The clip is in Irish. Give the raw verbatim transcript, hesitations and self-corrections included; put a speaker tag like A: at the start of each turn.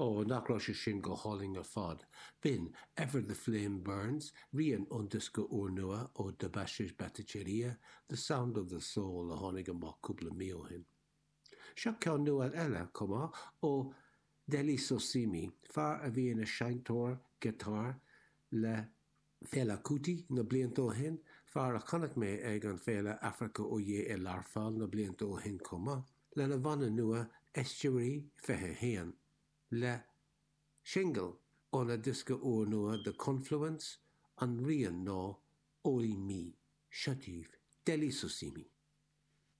A: Ó, nach raibh sé sin go hálainn ar fad. B'in Ever the Flame Burns, rian ón diosca úrnua ó Debashish Bhattacharya, The Sound of the Soul a tháinig amach cúpla mí ó shin. Seo ceann nua eile chomh maith ó Dele Sosimi, fear a bhí ina seinnteoir giotáir le Fela Kuti na blianta ó shin, fear a chonaic mé ag an Féile Africa Oye i Learpholl na blianta ó shin chomh maith, lena bhanna nua Estuary fiche haon, le singil óna diosca úrnua The Confluence an rian ná Orí Mi, seo daoibh Dele Sosimi.